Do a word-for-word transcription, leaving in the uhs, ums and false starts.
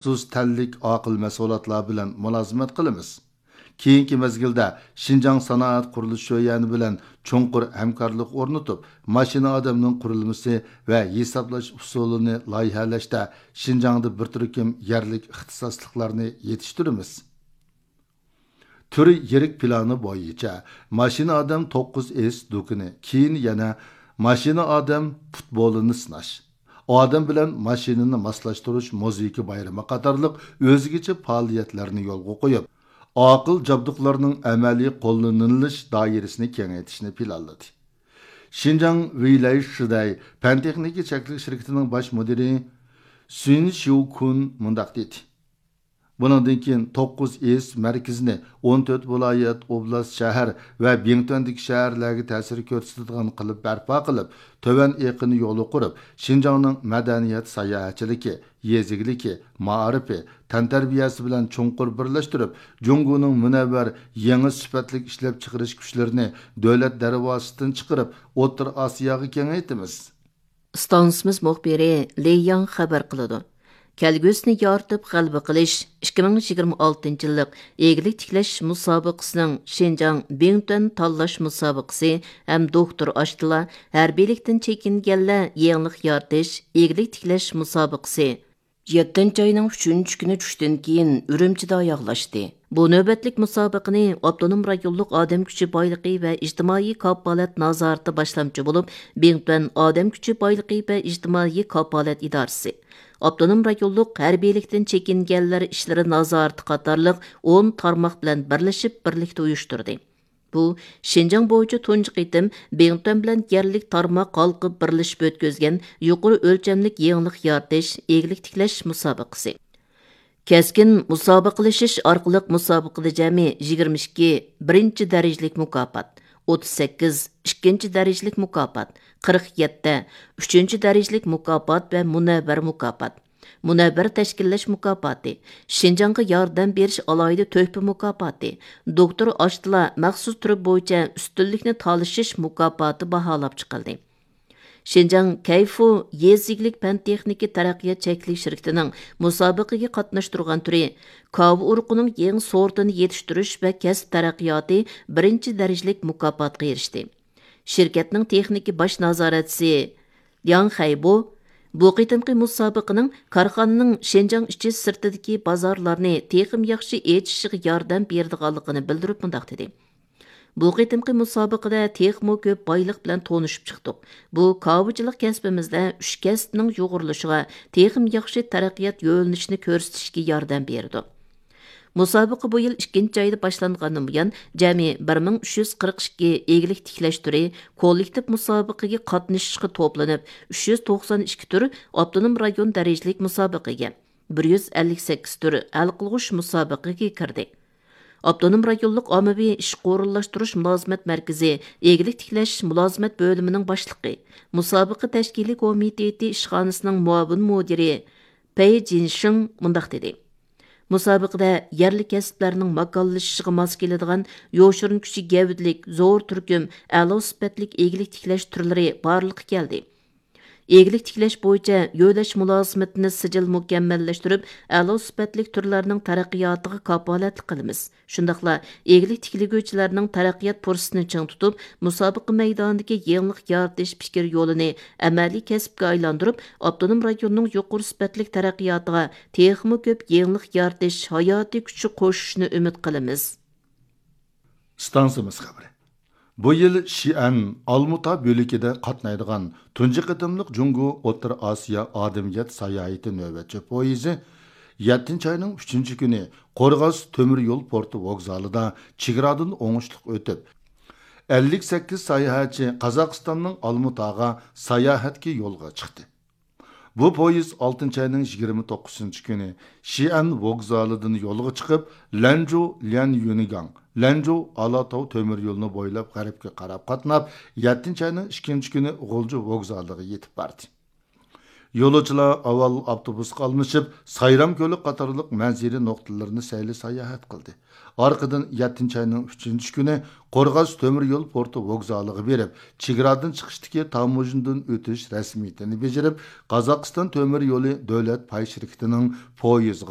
مەخسۇس تەنلىك ئاقىل مەشغۇلاتلار بىلەن مۇلازىمەت قىلىمىز. كېيىنكى مەزگىلدە شىنجاڭ سانائەت قۇرۇلۇش شۆيەنى بىلەن چوڭقۇر ھەمكارلىق ئورنىتىپ، ماشىنا ئادەمنىڭ قۇرۇلمىسى ۋە ھېسابلاش ئۇسۇلىنى لايىھەلەشتە شىنجاڭدا بىر تۈركۈم يەرلىك ئىختىساسلىقلارنى يېتىشتۈرىمىز. تۈر يىرىك پىلانى بويىچە ماشىنا ئادەم توققۇز ئېس دۇكىنى، كېيىن يەنە ماشىنا ئادەم پۇتبولىنى سىناش، ئادەم بىلەن ماشىنىنى ماسلاشتۇرۇش مۇزىكا بايرىمى قاتارلىق ئۆزگىچە پائالىيەتلەرنى يولغا قويۇپ، ئاقىل جابدۇقلارنىڭ ئەمەلىي قوللىنىلىش دائىرىسىنى كېڭەيتىشنى پىلانلىدى. شىنجاڭ ۋېيلەي شىدەي پەن تېخنىكا چەكلىك شىركىتىنىڭ باش مۇدىرى سۈن شيۇ كۇن مۇنداق دېدى. بۇنىڭدىن كېيىن توققۇز ئېس مەركىزىنى ئون تۆت ۋىلايەت، ئوبلاست، شەھەر ۋە بىڭتۈەندىكى شەھەرلەرگە تەسىر كۆرسىتىدىغان قىلىپ بەرپا قىلىپ، تۆۋەن ئېقىن يولى قۇرۇپ، شىنجاڭنىڭ مەدەنىيەت ساياھەتچىلىكى، يېزا ئىگىلىكى، مائارىپى، تەنتەربىيەسى بىلەن چوڭقۇر بىرلەشتۈرۈپ، جۇڭگونىڭ مۇنەۋۋەر يېڭى سۈپەتلىك ئىشلەپچىقىرىش كۈچلىرىنى دۆلەت دەرۋازىسىدىن چىقىرىپ، ئوتتۇرا ئاسىياغا كېڭەيتىمىز. ئىستانسىمىز مۇخبىرى لېي ياڭ خەۋەر قىلىدۇ. كەلگۈسىنى يارىتىپ غەلىبە قىلىش ئىككى مىڭ يىگىرمە ئالتىنچى يىللىق ئىگىلىك تىكلەش مۇسابىقىسىنىڭ شىنجاڭ بىڭتۈەن تاللاش مۇسابىقىسى ھەم دوكتور ئاشتىلا ھەربىيلىكتىن چېكىنگەنلەر يېڭىلىق يارىتىش ئىگىلىك تىكلەش مۇسابىقىسى يەتتىنچى ئاينىڭ ئۈچىنچى كۈنى چۈشتىن كېيىن ئۈرۈمچىدە ئاياغلاشتى. بۇ نۆۋەتلىك مۇسابىقىنى ئاپتونوم رايونلۇق ئادەم كۈچى بايلىقى ۋە ئىجتىمائىي كاپالەت نازارىتى باشلامچى بولۇپ، بىڭتۈەن ئادەم كۈچى بايلىقى ۋە ئىجتىمائىي كاپالەت ئىدارىسى، ئاپتونوم رايونلۇق ھەربىيلىكتىن چېكىنگەنلەر ئىشلىرى نازارىتى قاتارلىق ئون تارماق بىلەن بىرلىشىپ بىرلىكتە ئۇيۇشتۇردى. بۇ شىنجاڭ بويىچە تۇنجى قېتىم بىڭتۈەن بىلەن يەرلىك تارماق ھالقىپ بىرلىشىپ ئۆتكۈزگەن يۇقىرى ئۆلچەملىك يېڭىلىق يارىتىش، ئىگىلىك تىكلەش مۇسابىقىسى. كەسكىن مۇسابىقىلىشىش ئارقىلىق مۇسابىقىدە جەمئىي يىگىرمە ئىككى بىرىنچى دەرىجىلىك مۇكاپات، ئوتتۇز سەككىز ئىككىنچى دەرىجىلىك مۇكاپات، قىرىق يەتتە ئۈچىنچى دەرىجىلىك مۇكاپات ۋە مۇنەۋۋەر مۇكاپات، مۇنەۋۋەر تەشكىللەش مۇكاپاتى، شىنجاڭغا ياردەم بېرىش ئالاھىدە تۆھپە مۇكاپاتى، دوكتور ئاشتىلا مەخسۇس تۈرى بويىچە ئۈستۈنلۈكنى تالىشىش مۇكاپاتى باھالاپ چىقىلدى. شىنجاڭ كەيفۇ يېزا ئىگىلىك پەن تېخنىكا تەرەققىيات چەكلىك شىركىتىنىڭ مۇسابىقىگە قاتناشتۇرغان تۈرى كاۋا ئۇرۇقىنىڭ يېڭى سورتىنى يېتىشتۈرۈش ۋە كەسىپ تەرەققىياتى بىرىنچى دەرىجىلىك مۇكاپاتقا ئېرىشتى. شىركەتنىڭ تېخنىكا باش نازارەتچىسى لياڭ خەيبو بۇ قېتىمقى مۇسابىقىنىڭ كارخانىنىڭ شىنجاڭ ئىچى سىرتىدىكى بازارلارنى تېخىمۇ ياخشى ئېچىشىغا ياردەم بېرىدىغانلىقىنى بىلدۈرۈپ مۇنداق دېدى: بۇ قېتىمقى مۇسابىقىدە تېخىمۇ كۆپ بايلىق بىلەن تونۇشۇپ چىقتۇق. بۇ كاۋىچىلىق كەسپىمىزدە ئۈچ كەسىپنىڭ يۇغۇرۇلۇشىغا، تېخىمۇ ياخشى تەرەققىيات يۆنىلىشىنى كۆرسىتىشكە ياردەم بېرىدۇ. مۇسابىقە بۇ يىل ئىككىنچى ئايدا باشلانغاندىن بۇيان، جەمئىي بىر مىڭ ئۈچ يۈز قىرىق ئىككى ئىگىلىك تىكلەش تۈرى كوللېكتىپ مۇسابىقىگە قاتنىشىشقا توپلىنىپ، ئۈچ يۈز توقسان ئىككى تۈر ئاپتونوم رايون دەرىجىلىك مۇسابىقىگە، بىر يۈز ئەللىك سەككىز تۈر ھەل قىلغۇچ مۇسابىقىگە كىردى. ئاپتونوم رايونلۇق ئاممىۋى ئىشقا ئورۇنلاشتۇرۇش مۇلازىمەت مەركىزى ئىگىلىك تىكلەش مۇلازىمەت بۆلۈمىنىڭ باشلىقى، مۇسابىقە تەشكىلىي كومىتېتى ئىشخانىسىنىڭ مۇئاۋىن مۇدىرى پېي جىنشىڭ مۇنداق دېدى: مۇسابىقىدە يەرلىك كەسىپلەرنىڭ ماكانلىشىشىغا ماس كېلىدىغان يوشۇرۇن كۈچى گەۋدىلىك، زور تۈركۈم، ئەلا سۈپەتلىك ئىگىلىك تىكلەش تۈرلىرى بارلىققا كەلدى. ئىگىلىك تىكلەش بويىچە يۆلەش مۇلازىمىتىنى سىجىل مۇكەممەللەشتۈرۈپ، ئەلا سۈپەتلىك تۈرلەرنىڭ تەرەققىياتىغا كاپالەتلىك قىلىمىز. شۇنداقلا ئىگىلىك تىكلىگۈچىلەرنىڭ تەرەققىيات پۇرسىتىنى چىڭ تۇتۇپ، مۇسابىقە مەيدانىدىكى يېڭىلىق يارىتىش پىكىر يولىنى ئەمەلىي كەسىپكە ئايلاندۇرۇپ، ئاپتونوم رايوننىڭ يۇقىرى سۈپەتلىك تەرەققىياتىغا تېخىمۇ كۆپ يېڭىلىق يارىتىش ھاياتىي كۈچى قوشۇشنى ئۈمىد قىلىمىز. ئىستانسىمىز خەۋىرى. بۇ يىل شىئەن ئالمۇتا بۆلىكىدە قاتنايدىغان تۇنجى قېتىملىق جۇڭگو ئوتتۇرا ئاسىيا ئادەمىيەت ساياھىتى نۆۋەتچى پويىزى يەتتىنچى ئاينىڭ ئۈچىنچى كۈنى قورغاس تۆمۈر يول پورتى ۋوگزالىدا چېگرادىن ئوڭۇشلۇق ئۆتۈپ، ئەللىك سەككىز ساياھەتچى قازاقىستاننىڭ ئالمۇتاغا ساياھەتكە يولغا چىقتى. بۇ پويىز ئالتىنچى ئاينىڭ يىگىرمە توققۇزىنچى كۈنى شىئەن ۋوگزالىدىن يولغا چىقىپ، لەنجۇ ليەنيۈنگاڭ، لەنجۇ ئالاتاۋ تۆمۈر يولىنى بويلاپ غەربكە قاراپ قاتناپ، يەتتىنچى ئاينىڭ ئىككىنچى كۈنى غۇلجا ۋوگزالىغا يېتىپ باردى. يولۇچىلار ئاۋۋال ئاپتوبۇسقا ئالمىشىپ، سايرام كۆلى قاتارلىق مەنزىرە نۇقتىلىرىنى سەيلە ساياھەت قىلدى. ئارقىدىن يەتتىنچى ئاينىڭ ئۈچىنچى كۈنى قورغاس تۆمۈر يول پورتى ۋوگزالىغا بېرىپ، چېگرادىن چىقىشتىكى تاموژنىدىن ئۆتۈش رەسمىيىتىنى بېجىرىپ، قازاقىستان تۆمۈر يولى دۆلەت پاي شىركىتىنىڭ پويىزىغا